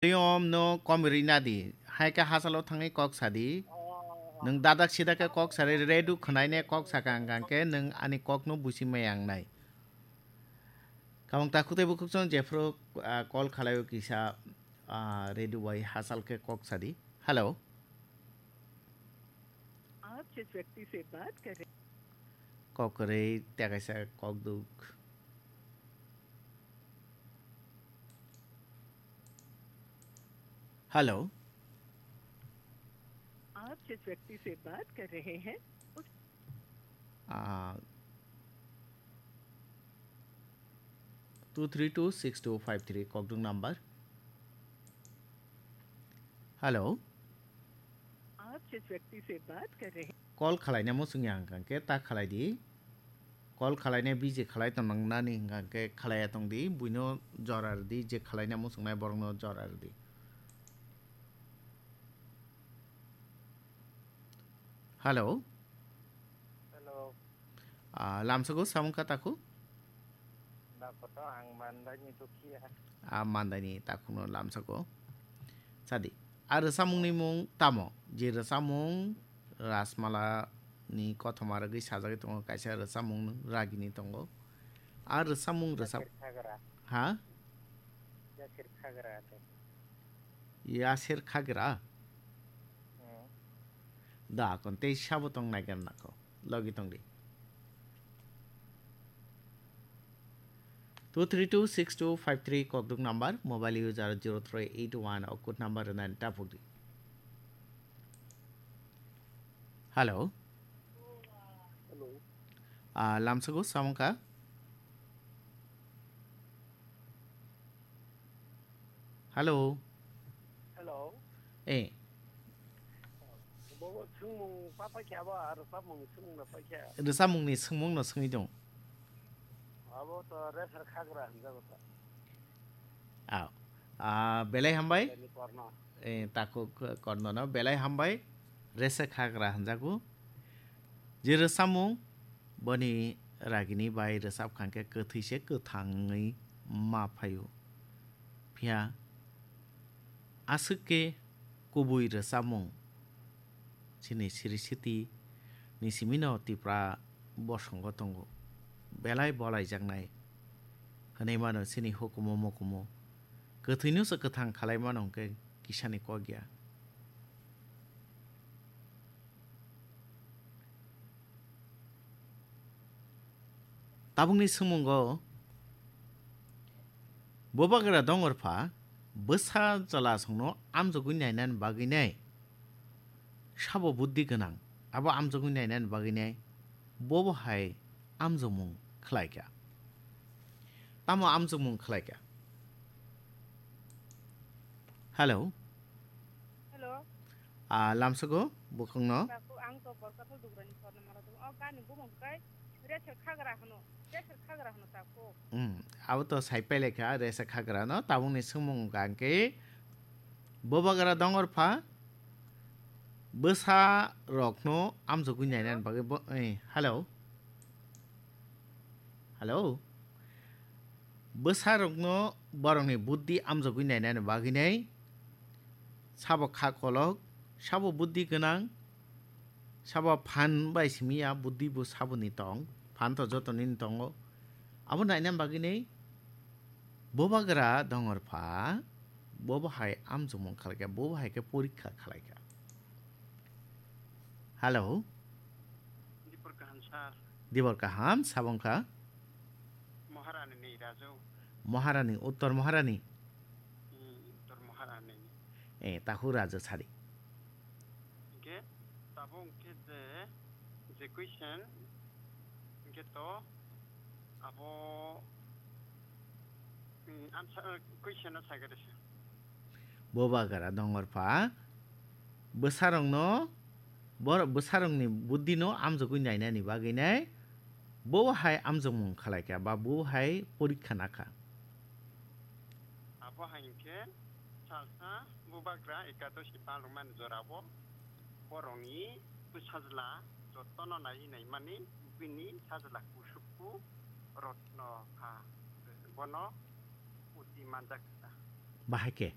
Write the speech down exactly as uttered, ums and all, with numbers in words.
Tiyom no kom rina di. Hai khe hachalo thangwi kok sa di. Nwng dadak sida khe kok sa di, redu khwnai ne kok sa kang kang khe nwng ani kok no busi maya wngnai. Kamang takhuk tei bukhuk chwng jephru, ah, call khalai o kisa, ah, redu bai hachal khe kok sa di. Hello. आप जिस व्यक्ति से बात कर रहे Kok kwrwi tei kaisa kok duk. Hello. आप जिस व्यक्ति से बात कर रहे हैं, उस Ah, two three two six two five three kokduk number. Hello. आप जिस व्यक्ति से बात कर रहे हैं। Call khalaina muchungya hwnkha khe ta khalai di. Call khalaina busy khalai tong nang nani hwnkha khe khalaiya tong di. Buino jora rw di, je khalaina muchungnai borokno jora rw di. Hello. Hello. Ah, lamsago samung ka taku? Dakoto ang Mandai ni Dukhiya. Ah, Mandai ni takuno lamsago. Sadi. Ah, rwchapmung ni mung tamo? Je rwchapmung Rasmala ni kothoma rwgwi sajagwi tongo, kaisa rwchapmung Ragini tongo. Ah, rwchapmung rwchap- Yasir Khagra. Ha? Yasir Khagra te. Yasir Khagra? Hmm. Da, kon tei sabo tong naigar nako. Logi tong di. Two three two six two five three kokduk number, mobile user zero three eight one o code number rwna tapuk di. Hello. Hello. Ah, lamsago samung ka? Hello. Hello. Eh. Bobo swngmung pa paikha abo, aro rwchapmung swngmung no paikha. Rwchapmung ni swngmung no swngwi tong. Abo to Resar Khagra hinjago to. Aw. Ah, belai hambai. Belai ni korno. Eh, takhuk korno no belai hambai. Resar Khagra hinjago. Je rwchapmung boni Ragini bai rwchap kha khe kwthwi se kwthangwi ma phaio. Phiya aswk khe kubui rwchapmung chini siri siti ni simi no Tipra bosongo tongo. Belai bolaijaknai hwnwi mano chini hukumu mukumu. Kwthwino se kwthang khalai mano hwnkhe kisani kok ya. Tabukni swngmungo, Bubagra Dongorpha bwsa chwlasongno amjogwi nainani bagwinai sabo buddhi gwnang, abo amjogwi nainani bagwinai bobo hai amjokmung khlaikha. Tamo amjokmung khlaikha? Hello. Hello. Ah, lamsago bukhungno. Takhuk, ang to Borkathal Dugrani Swarna Mala tongo. O gani bumung kai Resar Khagra hwno. Resar Khagra hwno takhuk. Hmm, abo to sai pailai kha Resar Khagra no. Tabukni swngmung hwnkha khe Bubagra Dongorpha bwsa rokno amjogwi nainani bagwi bo-, eh, hello. Hello. Bwsarokno borokni buddhi amjogwi nainani bagwinai sabo kha kolok, sabo buddhi gwnang, sabo phan bai simi ya, buddhi bo saboni tong, phan to joto nini tongo. Abo nainani bagwinai Bubagra Dongorpha bobo hai amjokmung khlaikha, bobo hai khe porikha khlaikha. Hello. Dibor kaham, sir. Dibor kaham, sabo wngkha? Maharani ni Raju. Maharani, Uttor Maharani? Hmm, Uttor Maharani. Eh, tahu Raju sadi. Hingke, tabo hingke je, je question, hingke to, abo, hmm, answer, question no sai gade se. Bubagra Dongorpha bwsarokno, bor-, bwsarokni buddhino amjogwi nainani bagwinai bo hai amjokmung khlaikha ba bo hai porikha nakha. Abo hai hwnkhe salsa Bubagra Ekadoshi palwkmani jorao borokni bwsajla jotono naiwi naimani bini sajla kusupku rotno kha, bono uti manjak kha. Bahai khe?